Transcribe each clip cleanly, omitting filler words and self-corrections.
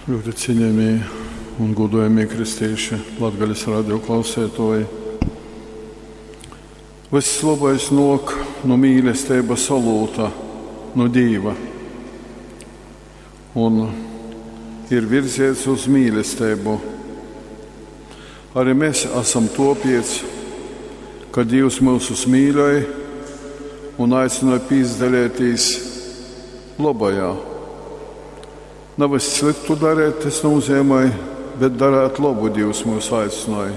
Ļoti cienījamie un godājamie kristīši, Latgales radio klausētoji. Vyss lobais nōk nu mīlesteibas olūta, nu Dīva, un ir virziets uz mīlesteibu. Arī mēs esam topiec, ka Dīvs myusus mīļoj un aicināja pīzdalētīs lobajā. Navys sliktu darēt, tas nozīmē, bet darēt labu Dievs mūs aicināja.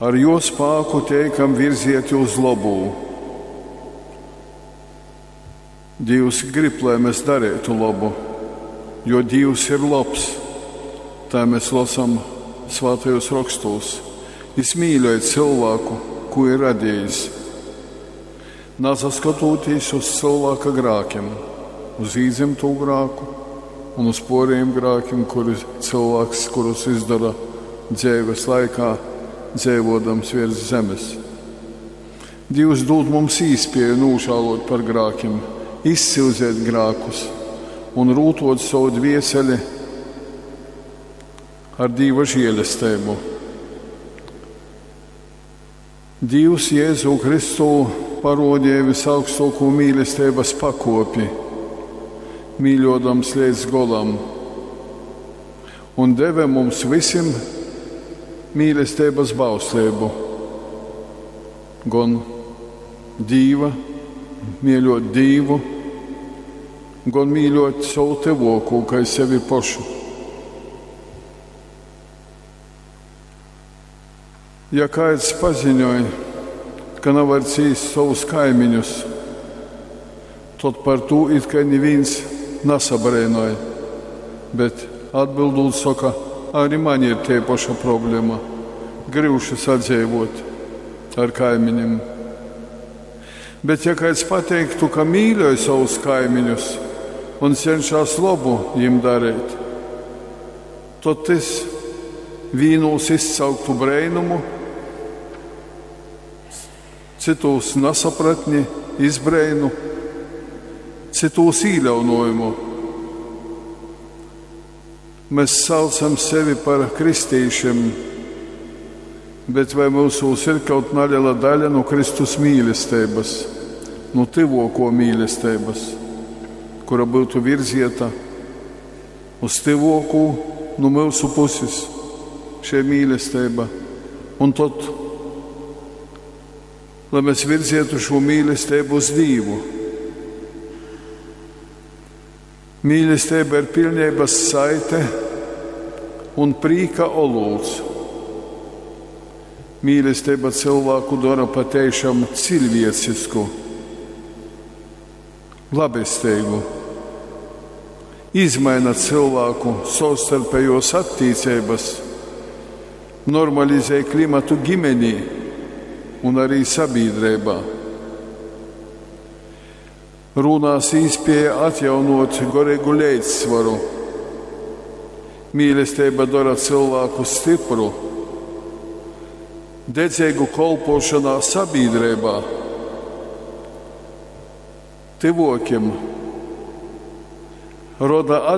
Ar jo spāku teikam virzieti uz labu. Dievs grib, lai mēs darētu labu, jo Dievs ir labs. Tā mēs lasām svētajos rakstos. Jis mīļoja cilvēku, ko ir radījis, nasaskatoties uz cilvēka grākiem, uz īdzimto grāku un uz poriem grākiem, kuri cilvēks, kurus izdara dzīves laikā, dzīvodams virs zemes. Dievs dod mums īspēju nožēlot par grākiem, izsilzēt grākus un rūtot savu dvieseli ar Dieva žēlastību. Dievs Jēzu Kristu parodīja visaugstāko mīlestības pakopi, mīļodams līdz golam, un deva mums visiem mīlestības bauslību, gan Dīva, mīļot Dīvu, gan mīļot savu tuvāko, kā sevi pašu. Ja kāds paziņoja, ka nevar cīst savus kaimiņus, tad par to it kā neviens nesabrēnoja. Bet atbildot saka, arī man ir tie paša problēma. Gribšu sadzīvot ar kaimiņiem. Bet ja kāds pateiktu, ka mīļoja savus kaimiņus un cenšas labu viņiem darīt, tad tas vīnos izsauktu brēnumu, citos nesapratni, izbrēnu, citos īļaunojumu. Mēs saucam sevi par kristīšiem, bet vai mūsos ir kaut neliela daļa no Kristus mīlestības, no tuvāko mīlestības, kura būtu virzieta uz tuvāko no mūsu puses šī mīlestība. Un tad, lai mēs virzietu šo mīlestību uz Dievu. Mīlestība ir pilnības saite un prīka olūts. Mīlestība cilvēku dara patiešām cilvēcisku, labestīgu, izmaina cilvēku savstarpējos attiecības, normalizē klimatu ģimenī un arī sabiedrībā. Runās īspēja atjaunot garīgu līdzsvaru. Mīlestība dara cilvēku stipru, dedzīgu kolpošanā sabiedrībā, tuvokiem, roda